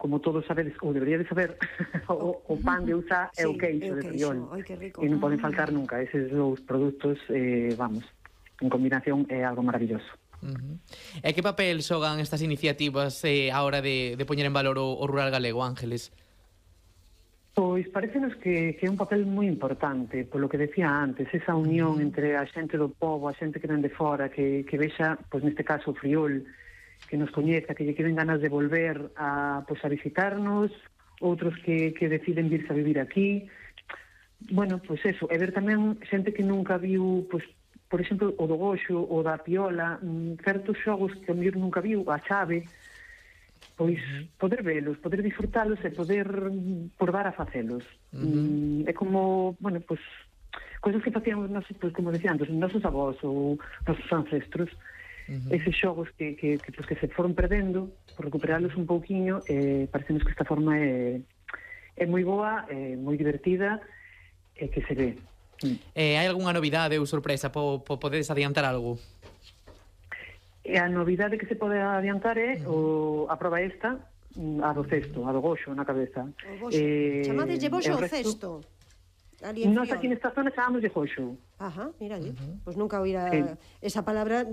como todos sabedes, ou debería de saber, o pan de usa e o queixo de Friol. E non poden faltar nunca. Eses dous produtos, vamos, en combinación é algo maravilloso. E que papel xogan estas iniciativas a hora de poñer en valor o rural galego, Ángeles? Pois parecenos que é un papel moi importante, polo que decía antes, esa unión entre a xente do pobo, a xente que ven de fora, que vexa, pois neste caso o Friol, que nos coñeza, que lle queden ganas de volver a visitarnos, outros que deciden virse a vivir aquí. Bueno, pois eso, e ver tamén xente que nunca viu, pois, por exemplo, o do Goxo, o da Piola, certos xogos que o mellor nunca viu, a chave, pois poder velos, poder disfrutalos e poder probar a facelos. É como, bueno, pois, cousas que facíamos, pois, como decía antes, nosos avós ou nosos ancestros, eses xogos que se foron perdendo, por recuperarlos un pouquiño, parecenos que esta forma é moi boa, moi divertida, e que se ve. Hai algunha novidade ou sorpresa? Podedes adiantar algo? E a novidade que se pode adiantar é a proba esta, a do cesto, a do Goxo na cabeza. Chamadeslle Goxo ao cesto? Nós aquí nesta zona chamamos de Goxo. Ajá, miralle. Pois nunca oíra esa palabra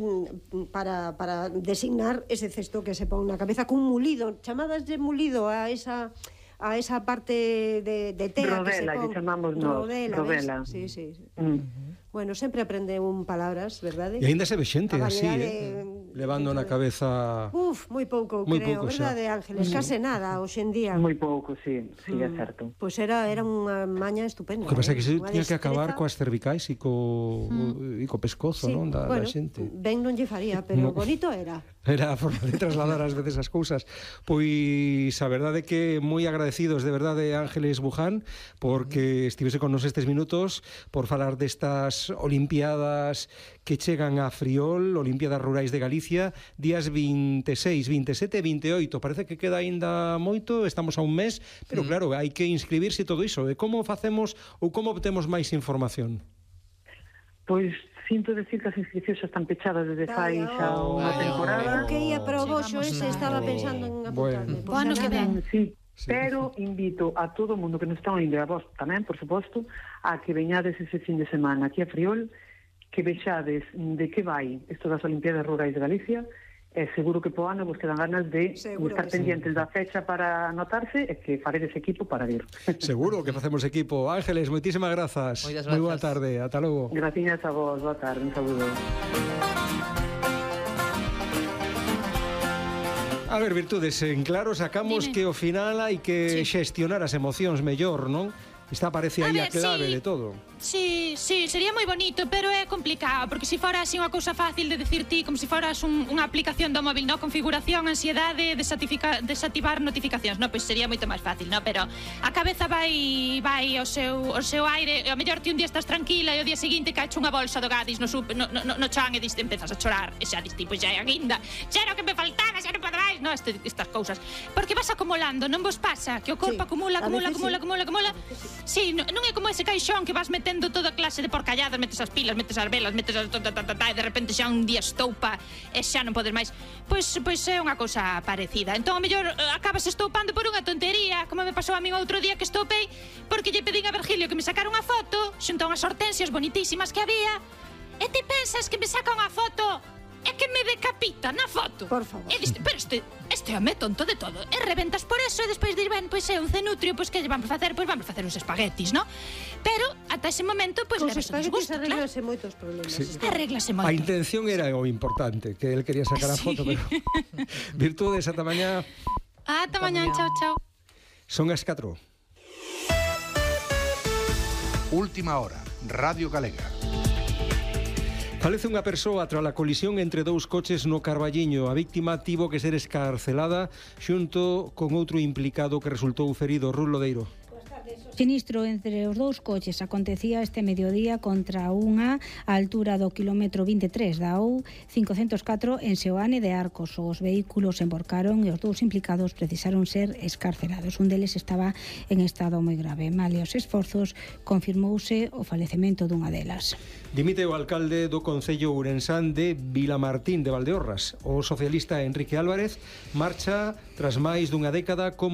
para designar ese cesto que se pon na cabeza cun mulido. Chamadeslle mulido a esa parte de tea que se pon. Rodela, que chamamos nós. Rodela. Sí. Bueno, sempre aprende palabras, verdade? E ainda se ve xente así, levando na cabeza... moi pouco, creo, verdade, Ángeles? Case nada, hoxe en día. Moi pouco, sí, é certo. Pois era unha maña estupenda. O que pasa é que se tiña que acabar coas cervicais e co pescozo, non, da xente. Ben non lle faría, pero bonito era. Era a forma de trasladar ás veces as cousas. Pois a verdade é que moi agradecidos de verdade Ángeles Buján porque estivese con nos estes minutos por falar destas Olimpiadas que chegan a Friol, Olimpiadas Rurais de Galicia, días 26, 27 e 28. Parece que queda aínda moito, estamos a un mes, pero claro, hai que inscribirse e todo iso. E como facemos ou como obtemos máis información? Pois sinto decir que as inscripcións xa están pechadas desde fai xa unha temporada. Eu que ia para o Goxo ese, estaba pensando en apuntarme. Bueno, que ben. Sí, pero invito a todo o mundo que nos está oindo, a vos tamén, por suposto, a que veñades ese fin de semana aquí a Friol, que vexades de que vai isto das Olimpiadas Rurais de Galicia, e seguro que po ano vos quedan ganas de estar pendientes da fecha para anotarse e que faredes equipo para vir. Seguro que facemos equipo. Ángeles, moitísimas grazas. Moi boa tarde, ata logo. Graciñas a vos, boa tarde, un saludo. A ver, Virtudes, en claro sacamos que ao final hai que xestionar as emocións mellor, non? Esta parece aí a clave de todo. Sí, sería moi bonito, pero é complicado, porque se fora así unha cousa fácil de decir ti, como se foras unha aplicación do móvil, no? Configuración, ansiedade, desactivar notificacións, no? Pois sería moito máis fácil, no? Pero a cabeza vai ao seu aire, ao mellor ti un día estás tranquila e o día seguinte caeche unha bolsa do Gadis no chan e empezas a chorar, e xa diste, pois xa é a guinda, xa era o que me faltaba, xa non podo máis, no? Estas cousas, porque vas acumulando, non vos pasa? Que o corpo acumula. Sí, non é como ese caixón que vas metendo toda clase de porcalladas, metes as pilas, metes as velas, metes as e de repente xa un día estoupa e xa non podes máis. Pois é unha cousa parecida. Entón, ao mellor, acabas estoupando por unha tontería, como me pasou a min outro día que estoupei, porque lle pedín a Virgilio que me sacara unha foto xunto a unhas hortensias bonitísimas que había, e ti pensas que me saca unha foto é que me decapita na foto. Por favor. E diste, pero este home tonto de todo. E reventas por eso e despois dir, ben, pois é un cenutrio, pois que lle vamos facer? Pois vamos facer uns espaguetis, non? Pero ata ese momento, pois levas o desgusto, claro. Arreglase moitos problemas. Arreglase moito. A intención era o importante, que él quería sacar a foto, pero... Virtudes, ata mañá. Ata mañá, chao. Son as 4. Última hora, Radio Galega. Falece unha persoa tras a colisión entre dous coches no Carballiño. A víctima tivo que ser escarcelada xunto con outro implicado que resultou ferido. Ruth Lodeiro. Sinistro entre os dous coches acontecía este mediodía contra unha á altura do quilómetro 23 da O504 en Seoane de Arcos. Os vehículos emborcaron e os dous implicados precisaron ser escarcelados. Un deles estaba en estado moi grave. Malia os esforzos, confirmouse o falecemento dunha delas. Dimite o alcalde do concello ourensán de Vilamartín de Valdeorras. O socialista Enrique Álvarez marcha tras máis dunha década como